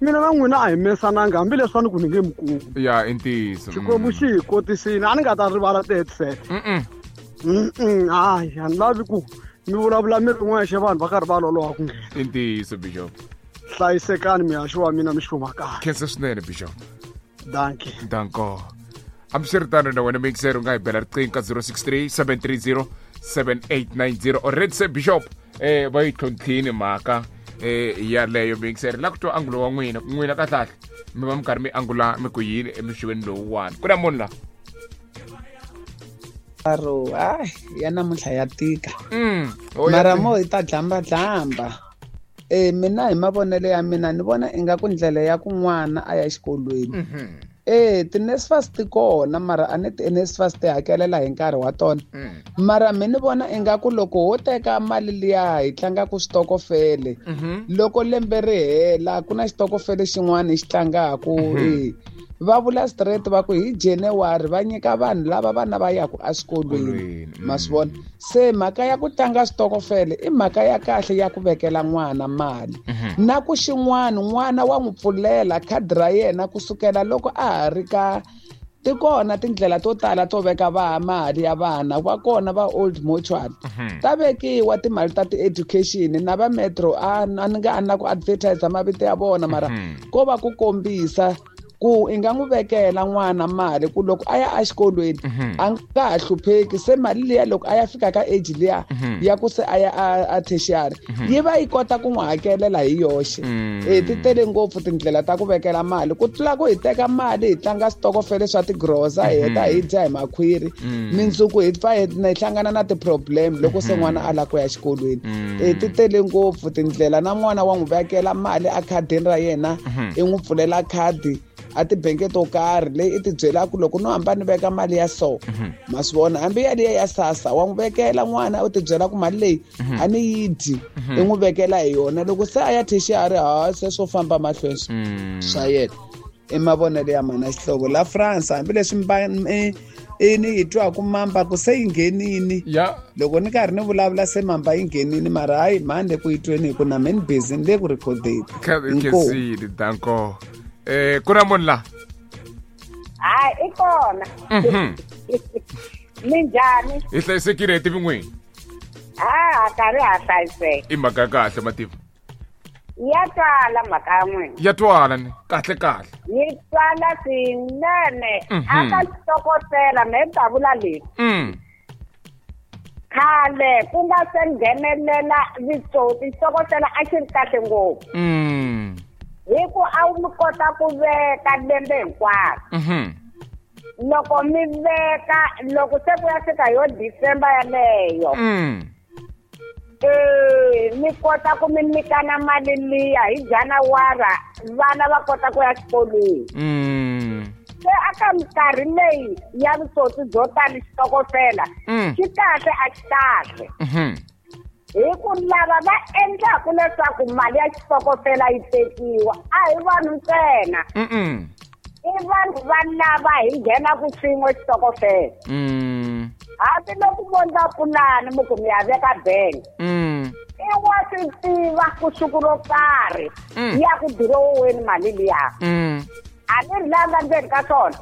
Mina na n'wina a hi mesananga, hambileswi a ni ku ni nge mi kumi. Ya, i ntiyiso. Xikwembu xi hi kotisini, a ni nga ta rivala ti-headset. Mm-mm, hayi, a ni lavi ku mi vulavula mi ri n'wexe, vanhu va karhi va loloha ku nghena. I ntiyiso, bishop. Hlayisekani, mihaxo wa mina, mi xuma kahle. Khensa swinene, bishop. Danki. Danko. Hambiswiritano, na wena mixer u nga hi bela riqingho ka 063 730 7890. Already se bishop va yi tlhontlhini mhaka yaleyo. Mixer la ku twa angulo wa n'wina, n'wina kahlahle mi va mi karhi mi angula mi ku yini emixiveni lowuwani? Ku na munhu la Aro, hayi, ya namuntlha ya tika. Oh, ya. Mara mo hi ta dlamba dlamba. Mina hi mavonelo ya mina ni vona ingaku ndlela ya ku n'wana a ya xikolweni. Ti-NSFAS ti kona, mara a ni ti-NSFAS ti hakelela hi nkarhi wa tona. Mara mi ni vona ingaku loko ho teka mali liya hi tlangaku xitokofele, loko lembe ri hela ku na xitokofele xin'wana hi xi tlangaku, va vula straight va ku hi January va nyika vanhu lava vana va yaku eswikolweni. Kolweni. Ma swi vona, se mhaka ya ku tlanga switokofele i mhaka ya kahle ya ku vekela n'wana mali. Na ku xin'wana, n'wana wa n'wi pfulela khadi ra yena kusukela loko a ha ri ka ti kona tindlela to tala to veka va mali ya vana va kona va Old Mutual, ta vekiwa timali ta ti-education na va Metro. A ni nga a ni la ku advertise mavito ya vona, mara ko va ku kombisa ku i nga n'wi vekela n'wana mali ku loko a ya exikolweni a nga ha hlupheki. Se mali liya loko a ya fika ka age liya ya ku se a ya a tertiary, yi va yi kota ku n'wi hakelela hi yoxe. Ti tele ngopfu tindlela ta ku vekela mali ku tlula ku hi teka mali hi tlanga switokofele swa tigrosa, hi heta hi dya hi makhwiri, mindzuku hi pfa hi hlangana na ti-problem loko se n'wana a lava ku ya xikolweni. Ti tele ngopfu tindlela, na n'wana wa n'wi vekela mali ekhadini ra yena, i n'wi pfulela khadi a tibenke to karhi leyi i ti byelaka loko no hamba ni veka mali ya so. Ma swi vona, hambi yaliya ya SASSA, wa n'wi vekela n'wana, u ti byela ku mali leyi a ni yi dyi, i n'wi vekela hi yona. Loko se a ya tertiary, ha se swo famba mahlweni swa yena. I mavonelo ya mana Xihlovo la France, hambileswi i ni yi twaku mamba ku se yi nghenini. Loko ni karhi ni vulavula se mamba yi nghenini, mara hayi mhani le ku yi tweni, hi ku na me ni busy ni le ku rhekhodeni. Khensile, danko. Ku na munhu la? Hayi, i kona. Minjhani? Hi hlayisekile, hi tivi n'wini. Ha karhi ha hlayiseka. I mhaka ya kahle, mativa. Ya twala mhaka ya n'wina. Ya twala ni kahle kahle. Yi twala swinene. Aka xitokofela me ni ta vula leswi, khale ku nga se nghenelela vitsotsi, xitokofela a xi ri kahle ngopfu, hi ku a wu mi kota ku veka lembe hinkwaro. Loko mi veka, loko se ku ya fika yo December yaleyo, mi kota ku mi nyikana mali liya hi January, vana va kota ku ya xikolweni. Se aka minkarhi leyi ya vutsotsi byo tala, xitokofela xi kahle a xi kahle, hi ku lava va endlaku leswaku mali ya xitokofela yi tekiwa a hi vanhu ntsena, i vanhu va lava hi nghenaku swin'we xitokofela. Hambiloko mo ndla pulani mi ku mi ya veka bank, i wa swi tiva ku siku ro karhi ya ku diroweni mali liya. A ni ri langa ndzeni ka swona,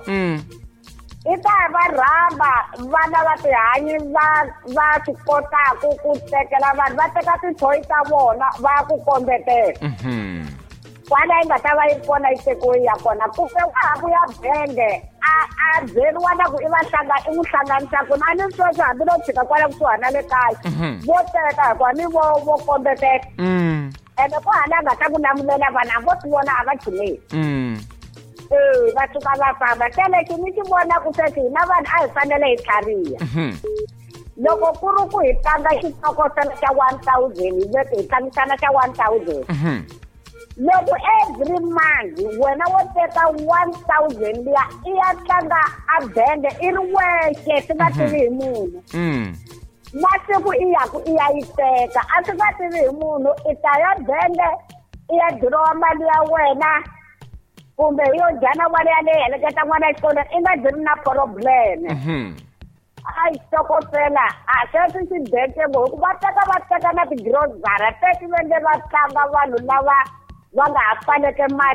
i ta va rhamba vana va tihanyi va va swi kotaku ku tekela vanhu, va teka tithoyi ta vona va ya ku kombetela kwala yi nga ta va yi kona, yi tekiwe ya kona, kumbe wa ha ku ya benge a byeriwa na ku i va hlanga i n'wi hlanganisa ku na ni sweswi, hambi no tshika kwala kusuhani na le kaya, vo teka hikuva ni vo vo kombetela. Ene ku hala nga ta ku lamulela vanhu a vo ti vona a va tshuneli. Ee, va suka va famba. Se lexi ni xi vona ku sweswi hina vanhu a hi fanele hi tlhariha. Loko ku ri ku hi tlanga xitokofela xa 1000, hi veke hi tlangisana xa 1000, loko every month wena wo teka 1000 liya i ya tlanga a bende i ri wexe, swi nga tivi hi munhu, na siku i yaku i ya yi teka a swi nga tivi hi munhu, i ta ya bende i ya dirowa mali ya wena, kumbe hi yo January yaleyo heleketa n'wana exikolweni, i nga diri na problem. A xitokofela a sweswi xi deke ngo, hikuva va teka va teka na tigrosara teti vende va tlanga vanhu lava va nga ha pfaleke mahlo.